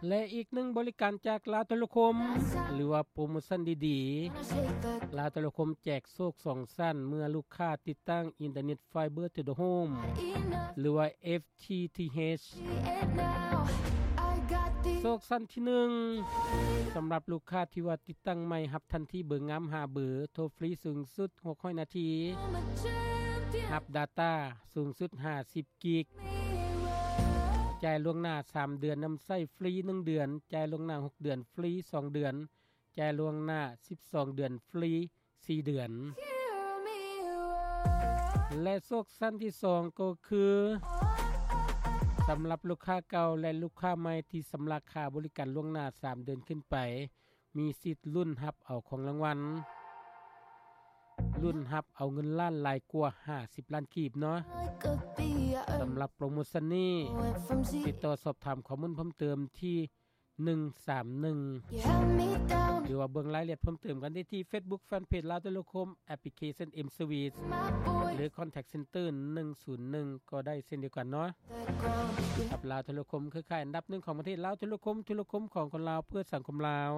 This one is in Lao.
ແລະ ອີກໜຶ່ງບໍລິການຈາກລາວໂທລະຄົມ ຫຼືວ່າໂປຣໂມຊັນດີໆ, ລາວໂທລະຄົມແຈກໂຊກສອງຊັ້ນເມື່ອລູກຄ້າຕິດຕັ້ງ Internet Fiber to the Home ຫຼືວ່າ FTTH. ໂຊກຊັ້ນທີໜຶ່ງ ສຳລັບລູກຄ້າທີ່ວ່າຕິດຕັ້ງໃໝ່ ຮັບທັນທີເບີງາມຫ້າເບີ, ໂທຟຣີສູງສຸດຫົກຮ້ອຍນາທີ, ຮັບດາຕ້າສູງສຸດຫ້າສິບກິກ, ຈ່າຍລ່ວງໜ້າສາມເດືອນນຳໃຊ້ຟຣີໜຶ່ງເດືອນ, ຈ່າຍລ່ວງໜ້າຫົກເດືອນຟຣີສອງເດືອນ, ຈ່າຍລ່ວງໜ້າສິບສອງເດືອນຟຣີສີ່ເດືອນ. ແລະ ໂຊກຊັ້ນທີສອງກໍຄື ສຳລັບລູກຄ້າເກົ່າ ແລະ ລູກຄ້າໃໝ່ທີ່ຊຳລະຄ່າບໍລິການລ່ວງໜ້າສາມເດືອນຂຶ້ນໄປ ມີສິດລຸ້ນຮັບເອົາຂອງລາງວັນ, ລຸ້ນຮັບເອົາເງິນລ້ານຫຼາຍກວ່າຫ້າສິບລ້ານກີບເນາະ. ສຳລັບໂປຣໂມຊັນນີ້ ຕິດຕໍ່ສອບຖາມຂໍ້ມູນເພີ່ມເຕີມທີ່ໜຶ່ງສາມໜຶ່ງ ຫຼືວ່າເບິ່ງລາຍລະອຽດເພີ່ມເຕີມກັນໄດ້ທີ່ Facebook Fanpage ລາວໂທລະຄົມ Application M Service ຫຼື Contact Center ໜຶ່ງສູນໜຶ່ງ ກໍໄດ້ເຊັ່ນດຽວກັນເນາະ. ກັບລາວໂທລະຄົມ ເຄືອຂ່າຍອັນດັບໜຶ່ງຂອງປະເທດລາວ, ໂທລະຄົມ, ໂທລະຄົມຂອງຄົນລາວ ເພື່ອສັງຄົມລາວ.